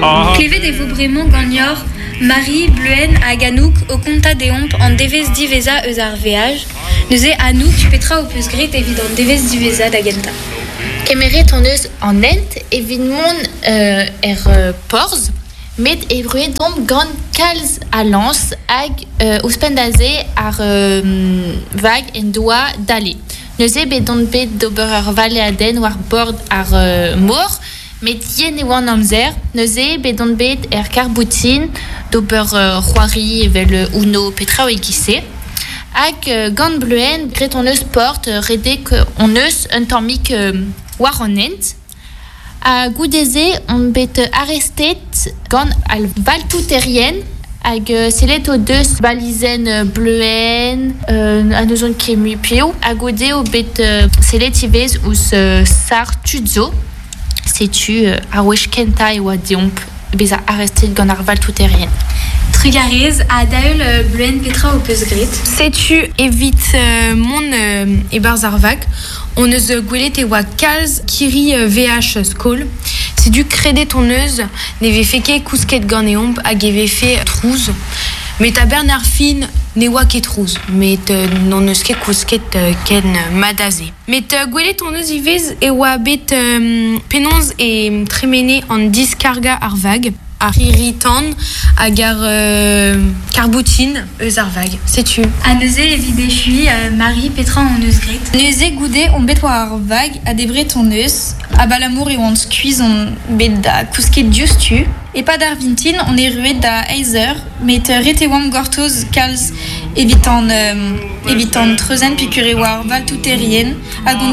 Klevet e vo bremañ ganeoc'h Marie, Bleuenn hag Anouk o kontañ deomp an devezh diwezhañ eus ar veaj. Neuze Anouk, petra ho peus graet evit an devezh diwezhañ da gentañ? Kemeret hon eus an hent evit mont er porzh met erruet omp gant kalz a lañs hag ouzhpenn da se ar vag en doa dale. Neuze bet on bet d'ober ur valeadenn war bord ar mor met yen e oa an amzer. Neuze bet on bet er karr-boutin d'ober c'hoari evel Uno pe traoù e-giz-se. Hag gant Bleuenn graet hon eus sport, redek hon eus un tammig war an hent. Ha goude-se on bet arestet gant al valtouterien hag sellet o deus balizenn Bleuenn ha n'ouzon ket mui piv. Ha goude eo bet sellet ivez ouzh sac'h tud zo. Setu ar wech kentañ e oa deomp bezañ arestet gant ar valtouterien. Trugarez ha da-heul Bleuenn petra ho peus graet? Setu evit mont e-barzh ar vag hon eus gwelet e oa kalz kirri VH skol. Setu kredet hon eus ne vefe ket kousket ganeomp hag e vefe trouz. Met a-benn ar fin ne oa ket trouz, met n'hon eus ket kousket ken mat ha se. Met gwelet hon eus ivez e oa bet penaos e tremene an diskargañ ar vag, ar c'hirri-tan hag ar karr-boutin eus ar vag. Setu. Ha neuze evit echuiñ, Marie, petra hon eus graet? Neuze goude omp bet war ar vag ha debret hon eus, abalamour e oan skuizh on bet da kousket diouzhtu. E-pad ar vintin on erruet da eizh eur, met ret e oamp gortoz kalz evit an evit an treuzenn peogwir e oa ar valtouterien hag on.